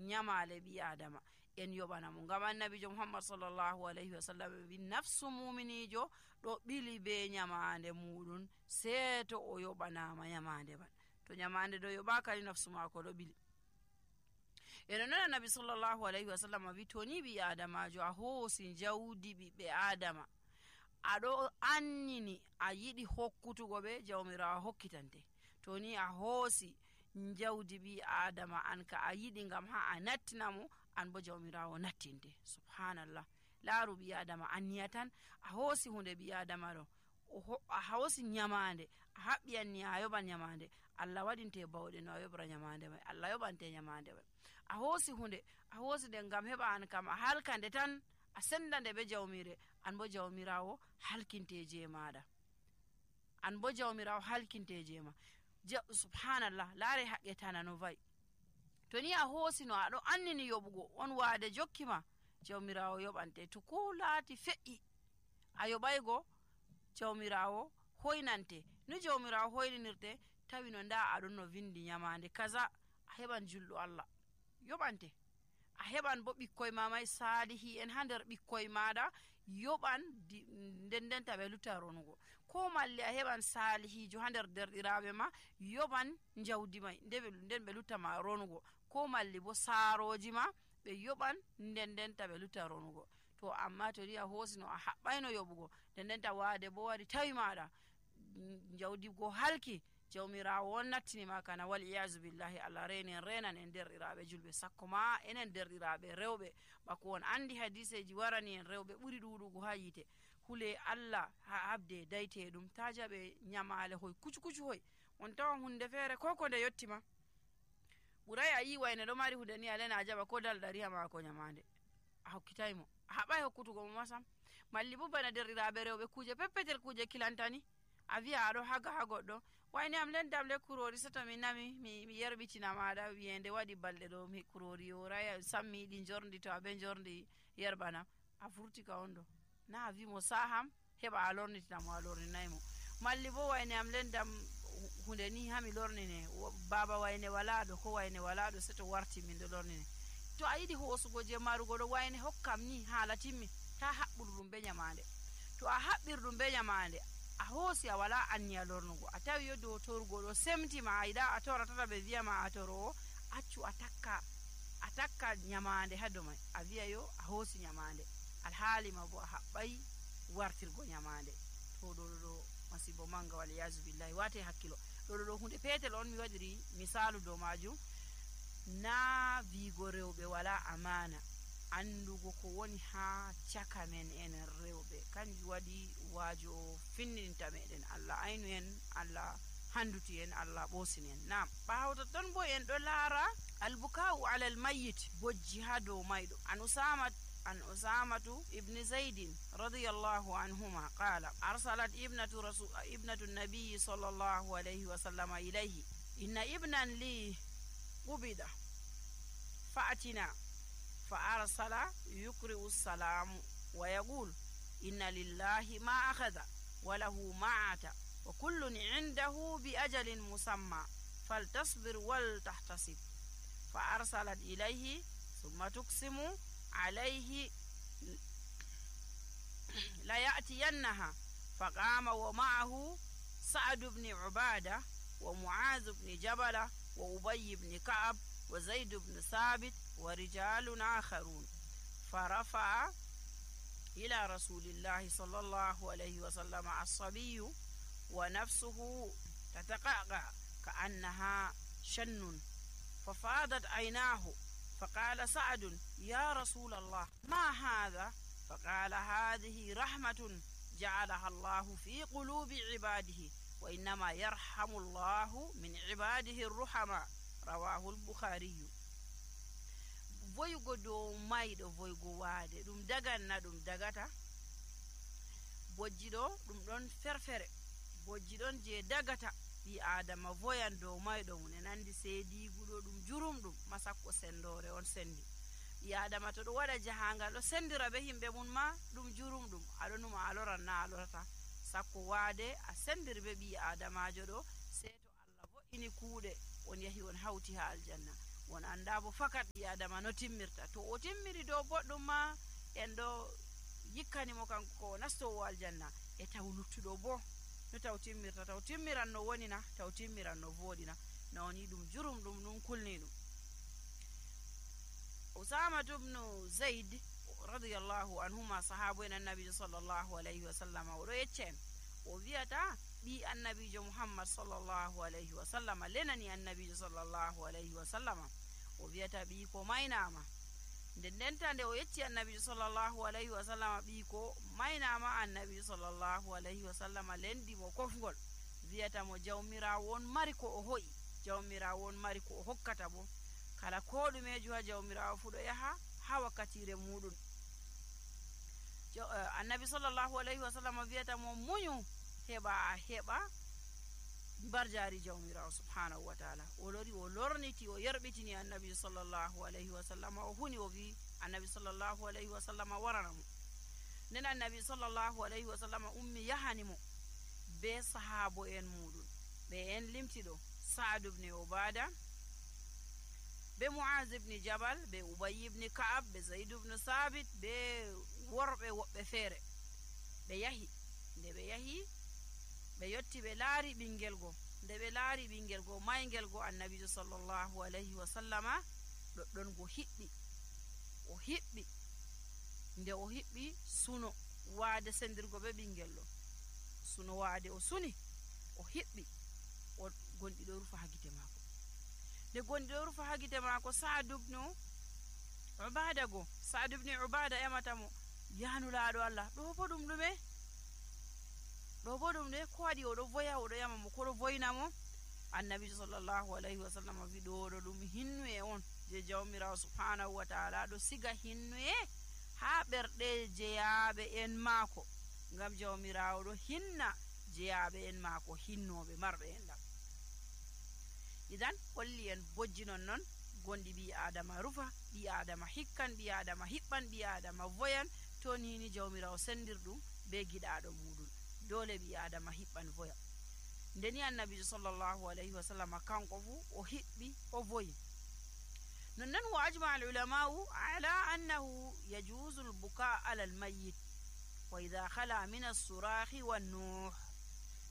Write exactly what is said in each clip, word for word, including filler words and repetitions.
nyamale bi adama en yobanamo ngam annabijo Muhammad sallallahu alaihi wasallam bi nafsu muminijo do bili be nyamande mudun seto o yobanama nyamande man to nyamande do yobaka ni nafsu mako do bili. eno non annabi sallallahu alaihi wasallam bi toni bi adamajo a hosi jawdi bi be adama ado annini a yidi hokkutugo be jawmirawo hokkitante toni a hosi jawdi bi adama an ka a yidi ngam ha a nattinamo an bo jawmirawo nattinte. Subhanallah, laaru bi adama anniyatan a hosi hunde bi adama do a hosi nyamande a habbi anni a yoban nyamande Allah wadinte bawde no yobra nyamande mai Allah yobante nyamande mai a hosi hunde a hosi de ngam heba an kam a halkande tan a sendande be jawmire an bo jawmirawo halkinteje maada an bo jawmirawo halkinteje ma. Subhanallah, laare haqqetana no vai to ni a hosi no ado annini yobugo on waade jokkima jawmirawo yobante to ko laati fe'i a yobaygo jawmirawo hoynante no jawmirawo hoyninirte tawi no nda adon no vindi nyamande kaza a heban juldo Allah yobante a heban bo bikkoy mamay salihi en hander bikkoy maada yoban den tabe lutaronugo ko malli a heban salihijo hander derdirabe ma yoban njawdi may ndebe den be lutama ronugo ko malli bo saroji ma be yoban den den tabe lutaronugo. To amma to riya hosino a habbayno yobugo den den ta waade bo wadi tawi maada njawdi go halki jawmirawo won nattini ma kana wal iyazu billahi Allah renen renan en derɗiraɓe julɓe sakko ma enen derɗiraɓe rewɓe bako won andi hadiseji warani en rewɓe ɓuri ɗuɗugo ha yite hule Allah ha habde dayte ɗum ta jaɓe nyamale hoy kucu kucu hoy on tawan hunde feere ko ko nde yottima ɓuray a yi wayne ɗo mari hunde ni alena a jaɓa ko dal ɗariha mako nyamande a hokkitaymo a haɓay hokkutugo mo masam malli bo bana derɗiraɓe rewɓe kuje peppetel kuje kilantani a wi'a aɗo haga ha goɗɗo wayne am lendam le kurori soto mi nami mi, mi yerɓitina maɗa wiyende waɗi balɗe ɗo mi kurori yoraya sammi yiɗi jordi to aɓe jordi yerɓanam a furti ka on ɗo na a wimo saham heɓa a lornitinamo a lorninaymo malli bo wayne am lendam hunde ni hami lornine baba wayne walaɗo ko wayne walaɗo seto warti min ɗo lornine to a yiɗi hosugo je marugo ɗo wayne hokkam ni haala timmi ta haɓɓuɗum be nyamande to a haɓɓirɗum be nyamande a hosi a wala anniya lornugo a tawi yo dow torgo ɗo semtima a yiɗa a tora tata ɓe wiyama a toro o accu a takka a takka nyamande ha dow mai a wiya yo a hosi nyamande alhaalima bo a haɓɓay wartirgo nyamande to ɗo ɗo masibo manga wal yazu billahi wate hakkilo ɗo ɗo hunde petel on mi waɗiri misalu dow majum na wigo rewɓe wala amana andugo ko woni ha caka men en rewɓe kanjum waɗi waajo finninta meɗen Allah aynu en Allah handuti en Allah ɓosini en. Nam ɓawta ton bo en ɗo laara albukau ala almayyit bojji ha dow mayɗo an usama an usamatu ibn zaidin radiyallahu anhuma qala arsalat ibnatu rasul ibnatu nabiy sallallahu alayhi wa sallam ilayhi inna ibnan li qubida fa'atina فأرسل يقرئ السلام ويقول إن لله ما أخذ وله ما عطى وكل عنده بأجل مسمى فلتصبر ولتحتسب فأرسلت إليه ثم تقسم عليه لا يأتينها فقام ومعه سعد بن عبادة ومعاذ بن جبل وأبي بن كعب وزيد بن ثابت ورجال آخرون فرفع إلى رسول الله صلى الله عليه وسلم الصبي ونفسه تتقعقع كأنها شن ففاضت عيناه فقال سعد يا رسول الله ما هذا؟ فقال هذه رحمة جعلها الله في قلوب عباده وإنما يرحم الله من عباده الرحماء رواه البخاري. voyugo dow mayɗo voyugo waade ɗum daganna ɗum dagata bojji ɗo ɗum ɗon ferfere bojji ɗon je dagata ɓi adama voyan dow mayɗo mum en andi seediguɗo ɗum jurum ɗum masakko sendore on sendi ɓi adama to ɗo waɗa jahangal ɗo sendira be himɓe mum ma ɗum jurum ɗum aɗo numa a loran na a lorata sakko waade a sendiri be ɓi adamajo ɗo sei to Allah vo'ini kuuɗe on yahi on hawti ha aljanna won anda bo fakat ɓi adama no timmirta. To o timmiri dow boɗɗum ma en ɗo yikkanimo kanko ko nastowo aljanna. E taw luttuɗo bo no taw timmirta, taw timmiran no woni na, taw timmiran no voɗina, na woni ɗum jurum ɗum ɗum kulni ɗum. Usamatu bnu Zaid radiyallahu anhuma sahabu en annabijo sallallahu alayhi wa sallam oɗo yecca en o wiyata ɓi annabijo Muhammad sallallahu alayhi wa sallam lenani annabijo sallallahu alayhi wa sallam o wiyata ɓi ko maynama. nden ndenta nde o yecci annabijo sallallahu alayhi wa sallam ɓi ko maynama, annabijo sallallahu alayhi wa sallam lendi mo kofgol wiyata mo jawmirawo on mari ko o hoyi, jawmirawo on mari ko o hokkata bo. kala ko ɗumejo ha jawmirawo fu ɗo yaha ha wakkatire muɗum. uh, annabi sallallahu alayhi wa sallam wiyata mo muñu heɓa heɓa barjari jawmirawo subhanahu wa taala. o lori o lorniti o yerɓitini annabi sallallahu alayhi wa sallam o huni o wi annabi sallallahu alayhi wa sallam waranamo. nden annabi sallallahu alayhi wa sallam ummi yahanimo be sahabo en muɗum ɓe en limtiɗo Sa'd ibn Ubada, be Mu'az ibn Jabal, be Ubay ibn Ka'ab, be Zaid ibn Sabit, be worɓe woɓɓe feere. ɓe yahi nde ɓe yahi ɓe yotti ɓe laari ɓingel go. nde ɓe laari ɓingel go maygel go annabijo sallallahu alayhi wa sallama ɗoɗɗon go hiɓɓi o hiɓɓi nde o hiɓɓi suno waade sendirgo be ɓingel ɗo. suno waade o suni o hiɓɓi o gonɗi ɗo rufa ha gite maako. nde gonɗi ɗo rufa ha gite maako Sa'd ibn Ubada go Sa'd ibn Ubada emata mo yanulaaɗo Allah ɗo bo ɗum ɗume ɗo bo ɗum de ko waɗi oɗo voya oɗo yama mo koɗo voyna mo. annabijo sallallahu alayhi wa sallam wi ɗo ɗo ɗum hinnuye on je jawmirawo subhanahu wa taala ɗo siga hinnuye ha ɓerɗe jeyaɓe en maako, ngam jawmirawo ɗo hinna jeyaɓe en maako hinnoɓe marɓe en ɗam. idan holli en bojji non non gonɗi ɓi adama rufa, ɓi adama hikkan, ɓi adama hiɓɓan, ɓi adama voyan to nini jawmirawo sendir ɗum be giɗaɗo muɗum. dole ɓi adama hiɓɓan voya. ndeni annabijo sallallahu alayhi wa sallam kanko fu o hiɓɓi o voyi. nonnon wa ajma al ulamau ala annahu yajuzu al buka ala al mayyit wa idha khala min as-surahi wan nuh.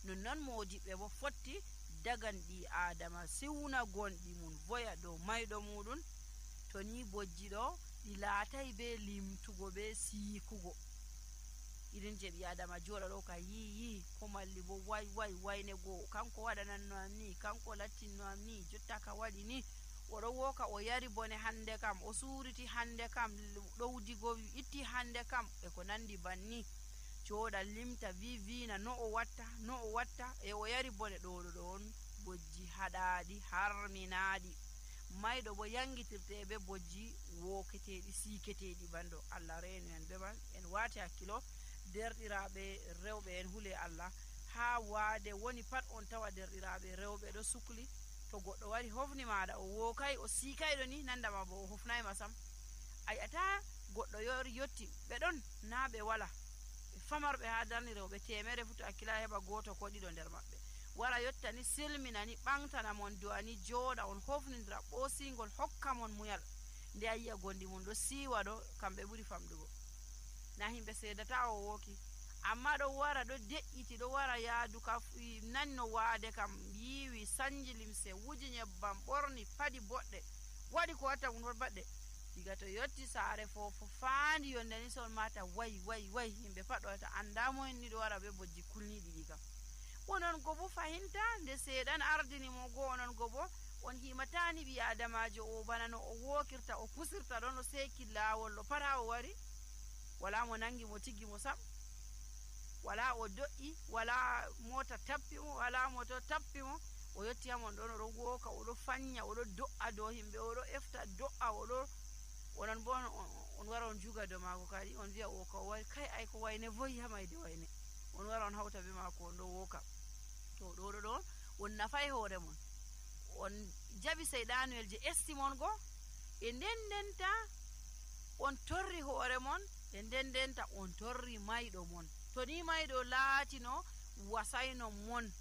nonnon modiɓɓe bo fotti dagan ɓi adama siwna gonɗi mum voya dow mayɗo muɗum to ni bojji ɗo ɗi laatay be limtugo be siikugo. irin je ɓi adama joɗa ɗo ka yi yi ko malli bo way way wayne goo kanko waɗananno am ni, kanko lattinno am ni, jotta ka waɗi ni, oɗo woka o yari bone hande kam, o suriti hande kam, ɗowdigo itti hande kam, e ko nandi banni. joɗa limta vi vina no o watta no o watta e o yari bone. ɗoɗo ɗo on bojji haɗaɗi harminaɗi. mayɗo bo yangitirte be bojji woketeɗi siketeɗi bando. Allah reenu en be man en wati hakkilo derɗiraɓe rewɓe en hule Allah ha waade woni pat on tawa derɗiraɓe rewɓe ɗo sukli. to goɗɗo wari hofni maɗa o wokay o sikayɗo ni nandama bo o hofnayma sam. a yi'ata goɗɗo yori yotti ɓe ɗon na ɓe wala famarɓe ha darni rewɓe temere futo hakkila heɓa goto ko ɗiɗo nder maɓɓe wara yotta ni silmina ni ɓantana mon du'a ni joɗa on hofnidira ɓosingol hokka mon muyal. nde a yi'a gondi mum ɗo siwa ɗo kamɓe ɓuri famɗugo. na himɓe sedata o woki amma ɗo wara ɗo de'iti ɗo wara yaadu ka nanno waade kam yiwi sanji limse wuji nyebbam ɓorni padi boɗɗe waɗi ko watta ɗum baɗɗe. diga to yotti saare fofo faandi yonde ni son mata way way way himɓe pat ɗo wata andamo en ni ɗo wara be bojji kulniɗi ɗi kam. onon go bo fahinta nde seeɗan ardini mo go onon go bo on himatani ɓi adamajo o bana no o wokirta o pusirta ɗon o seki lawol ɗo pat ha o wari wala mo nangi mo tiggi mo sam, wala o do'i, wala mota tappi mo, wala moto tappi mo. o yotti hamon ɗon oɗo woka oɗo fanya oɗo do'a dow himɓe oɗo efta do'a oɗo onon bo on wara on juga dow mako kadi on wiya o ko wari kay ay ko wayne voyi ha mayde wayne on wara on hawta be mako on ɗo woka. to ɗo ɗo ɗo on nafay hoore mon on jaɓi seyɗanuel je esti mon go e nden ndenta on torri hoore mon e nden ndenta on torri mayɗo mon. to ni mayɗo laatino wasayno mon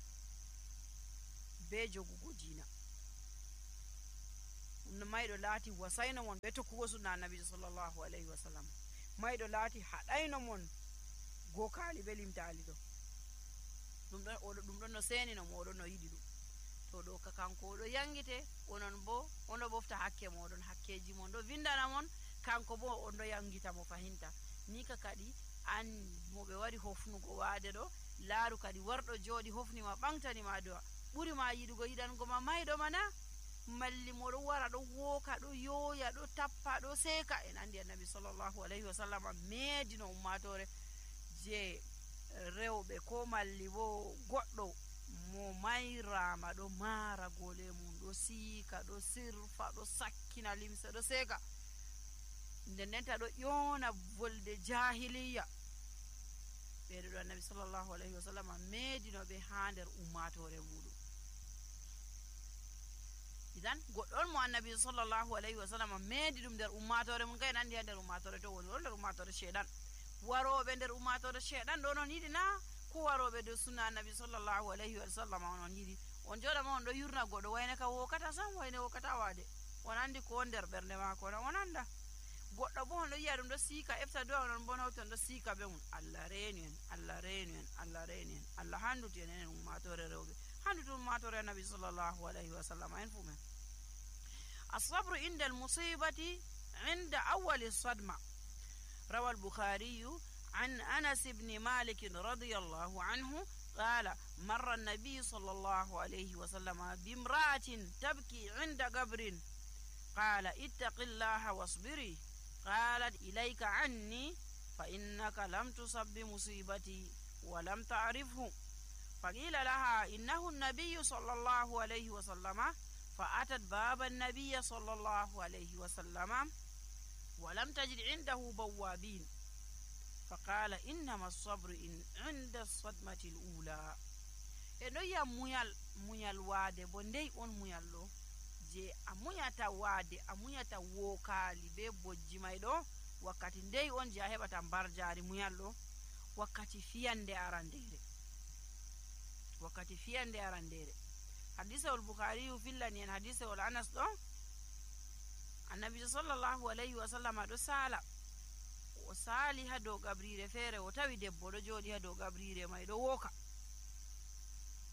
be jogugo diina mayɗo laati wasayno mon ɓe tokkugo sunna annabijo sallllahu alayhi wa sallam, mayɗo laati haɗayno mon gokaali be limtaali ɗo, ɗum ɗon oɗo ɗum ɗon no senino mo, oɗon no yiɗi ɗum. To ɗo ka kanko oɗo yangite, onon bo oɗo ɓofta hakke moɗon, hakkeji mon ɗo vindana mon, kanko bo on ɗo yangita mo fahinta. Ni ka kadi an mo ɓe wari hofnugo waade ɗo, laaru kadi warɗo jooɗi hofnima ɓamtanima do'a, ɓuri ma yiɗugo yiɗango ma mayɗo mana, malli moɗo wara ɗo wooka ɗo yooya ɗo tappa ɗo seeka. En andi annabi sallllahu alayhi wa sallam meedino ummatore je rewɓe ko malli bo goɗɗo mo mayrama ɗo maara gole mum, ɗo siika, ɗo sirfa, ɗo sakkina limse, ɗo seeka, nden ndenta ɗo ƴoona volde jahiliya. ɓeɗo ɗo annabi sallllahu alayhi wa sallam meedinoɓe ha nder ummatore muɗum. idan goɗɗo on mo annabi sallllahu alayhi wa sallam meedi ɗum nder ummatore mum, kay en andi ha nder ummatore to woni ɗo nder ummatore sheeɗan. waroɓe nder ummatore sheeɗan ɗo non yiɗi na ko waroɓe dow sunna annabi sallllahu alayhi wa sallam onon yiɗi? On joɗama on ɗo yurna goɗɗo wayne ka wokata sam, wayne wokata waade, on andi ko nder ɓernde mako na, on anda. goɗɗo bo on ɗo yiya ɗum ɗo siika efta do'a, onon bo nawti on ɗo siika be mum. Allah reenu en, Allah reenu en, Allah reenu en, Allah handuti en enen ummatore rewɓe, handuti ummatore annabi sallllahu alayhi wa sallam en fu men. الصبر عند المصيبة عند أول الصدمة. روى البخاري عن أنس بن مالك رضي الله عنه قال: مر النبي صلى الله عليه وسلم بامرأة تبكي عند قبر، قال: اتق الله واصبري. قالت: إليك عني، فإنك لم تصب بمصيبتي ولم تعرفه. فقيل لها: إنه النبي صلى الله عليه وسلم. فأتت باب النبي صلى الله عليه وسلم ولم تجد عنده بوابين، فقال: إنما الصبر إن عند الصدمة الأولى. eno ya muyal muyal waade bo ndey on muyal ɗo je a muyata waade, a muyata wokaali be bojji may ɗo, wakkati ndey on je a heɓata mbarjaari muyal ɗo, wakkati fiyande arandere, wakkati fiyande arandere. hadisewol bukhariyu fillani en hadisewol anas ɗo, annabijo sallllahu alayhi wa sallam ɗo sala, o saali ha dow gabrire feere, o tawi debbo ɗo jooɗi ha dow gabrire may ɗo wooka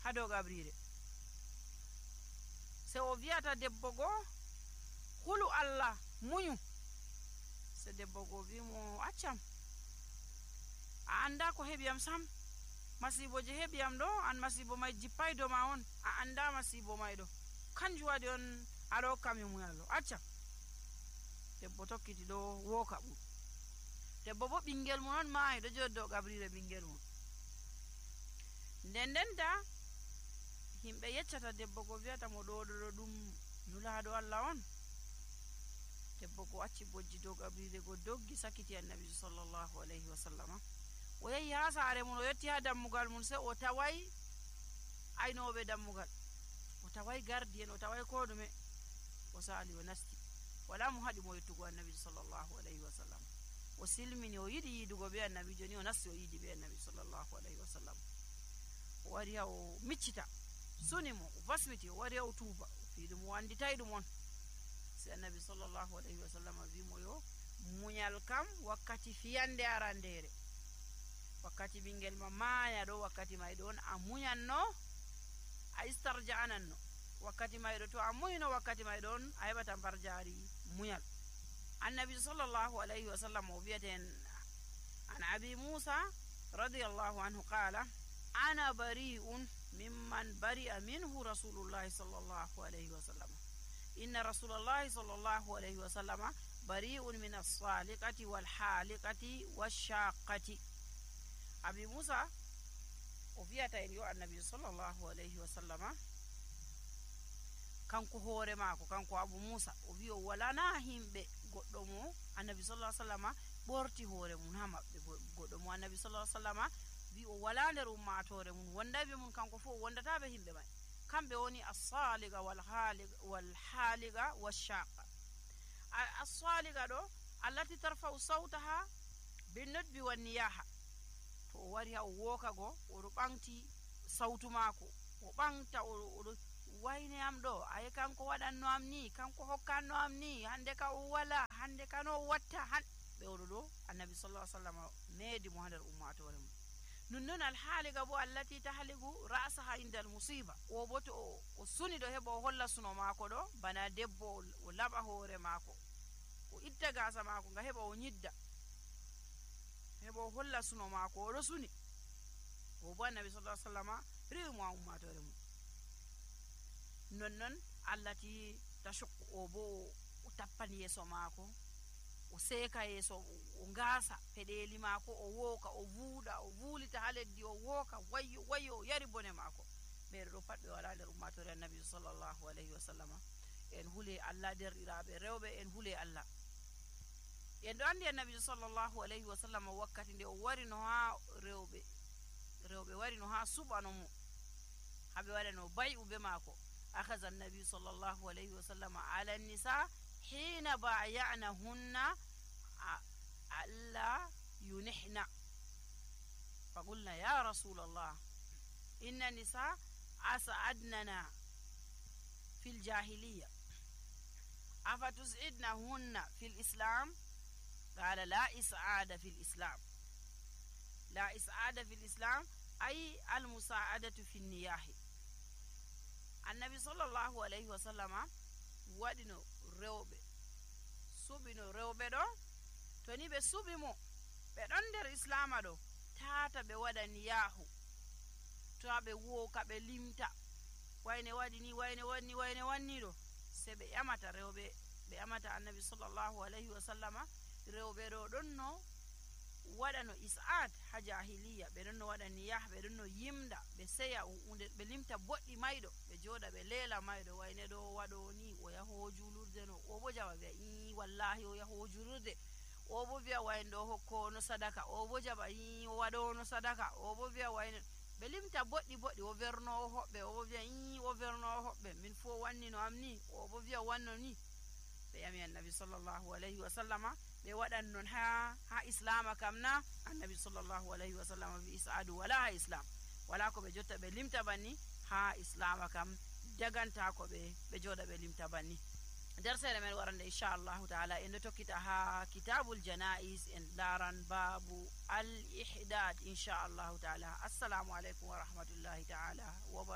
ha dow gabrire. se o wiyata debbo goo, hulu Allah, muñu. se debbo goo wimo: accam, a anda ko heɓiyam sam, masibo je heɓiyam ɗo, an masibo may jippay do ma on, a anda masibo may ɗo, kanjum waɗi on aɗo hokkami muyal ɗo, accam. debbo tokkiti ɗo wooka ɓum. debbo bo ɓingel mum on maayi ɗo jooɗi dow gabrire ɓingel mum. nden ndenta himɓe yeccata debbo go, wiyata mo ɗo ɗo ɗum nulaɗo Allah on. debbo go acci bojji dow gabrire go, doggi sakiti annabi sallllahu alayhi wa sallama. o yehi ha saare mum, o yetti ha dammugal mum, se o taway aynoɓe dammugal, o taway gardi en, o taway ko ɗume. o saali o nasti, wala mo haɗi mo yettugo annabi sallllahu alayhi wa sallam. o silmini, o yiɗi yiidugo be annabi, joni o nasti o yiidi be annabi sallllahu alayhi wa sallam. o wari ha o miccita, suni mo, o basmiti, o wari ha o tuuba, o fii ɗum, o anditay ɗum on. se annabi sallllahu alayhi wa sallam wimo yo muñal kam wakkati fiyande arandere, wakkati ɓingel ma maaya ɗo, wakkati may ɗon a muñanno, a istarja'ananno. wakkati may ɗo to a muyno, wakkati may ɗon a heɓata mbarjaari muñal. annabi sallllahu alayhi wa sallam o wiyaten an abi musa radiyallahu anhu qala: ana bari'un mimman bari'a minhu rasulullahi sallllahu alayhi wa sallam. inna rasulallahi sallllahu alayhi wa sallama bari'un min as-saliqati wal haliqati wash-shaqqati. abi musa o wiyata en yo annabi sallllahu alayhi wa sallama, kanko hoore maako, kanko abu musa, o wi o walana himɓe goɗɗo mo annabi sallah sallama ɓorti hoore mum ha maɓɓe. goɗɗo mo annabi sallah sallama wi o wala nder ummatore mum wondayɓe mum, kanko fo o wondataɓe himɓe may. kamɓe woni as-saliga wal haliga wash-shaqa. as-saliga ɗo allati tarfa'u sawtaha bin nudbi wan niyaha. to o wari ha o wooka go, oɗo ɓamti sawtu maako, o ɓamta, oɗo wayne am ɗo aye kanko waɗanno am ni, kanko hokkanno am ni, hande ka o wala, hande ka no o watta han ɓewɗo ɗo annabi sallallahu alaihi wasallam meedi mo ha nder ummatore mum. nonnon alhaaliga bo allati tahligu ra'saha indal musiba, o bo to o, o suni ɗo heɓa o holla suno maako ɗo bana debbo o laɓa hoore maako o itta gasa maako nga heɓa o nyidda heɓa o holla suno maako oɗo suni, o bo annabi sallallahu alaihi wasallam riwi mo ha ummatore mum. nonnon allati tashukku, o bo o tappan yeeso maako o seeka yeeso o ngaasa peɗeli maako o wooka o vuuɗa o vuulita ha leddi o wooka wayyo wayyo o yari bone maako. ɓeeɗo ɗo pat ɓe wala nder ummatore annabi sallallahu alaihi wasallam. en hule Allah derɗiraɓe rewɓe, en hule Allah. en ɗo andi annabi sallallahu alaihi wasallam wakkati nde o wari no ha rewɓe rewɓe wari no ha suɓano mo haɓe waɗano bay'u be maako. akaza annabi sallallahu alaihi wasallam ala nisa hina bayanahunna alla yunihna faqulna ya rasulallah inna nisa as'adnana fil jahiliya afatus'idnahunna fil islam qala la is'ada fil islam la is'ada fil islam ay al musa'adatu fin niyahi. annabi sallallahu alaihi wasallama waɗino rewɓe suɓino rewɓe ɗo to ni ɓe suɓi mo ɓe ɗon nder islama ɗo tata ɓe waɗa niyahu, to ɓe wooka ɓe limta wayne waɗi ni wayne wanni wayne wanni ɗo, se ɓe ƴamata rewɓe ɓe ƴamata annabi sallallahu alaihi wasallama rewɓe ɗo ɗon no waɗa no is'ad ha jahiliya, ɓe ɗon no waɗa niyah, ɓe ɗon no yimda ɓe seya hunde ɓe limta boɗɗi mayɗo ɓe joɗa ɓe leela mayɗo wayne ɗo waɗo ni o yaho julurde no, o bo jaɓa wi'a i wallahi o yaho julurde, o bo wi'a wayne ɗo hokko no sadaka, o bo jaɓa i o waɗo no sadaka, o bo wi'a wayne ɓe limta boɗɗi boɗɗi o vernowo hoɓɓe, o bo wi'a i o vernowo hoɓɓe min fu o wanni no am ni, o bo wi'a wanno ni. ɓe ƴami annabi sallallahu alaihi wasallama ɓe waɗan non ha ha islama kam na? annabi sallallahu alaihi wasallam wi is'adu wala ha islam, wala ko ɓe jotta ɓe limta banni ha islama kam daganta ko ɓe ɓe joɗa ɓe limta banni. nder sere men warande inchallahu taala en ɗo tokkita ha kitabul janais en laran babu al ihdad inchallahu taala. assalamu aleykum wa rahmatullahi taala wa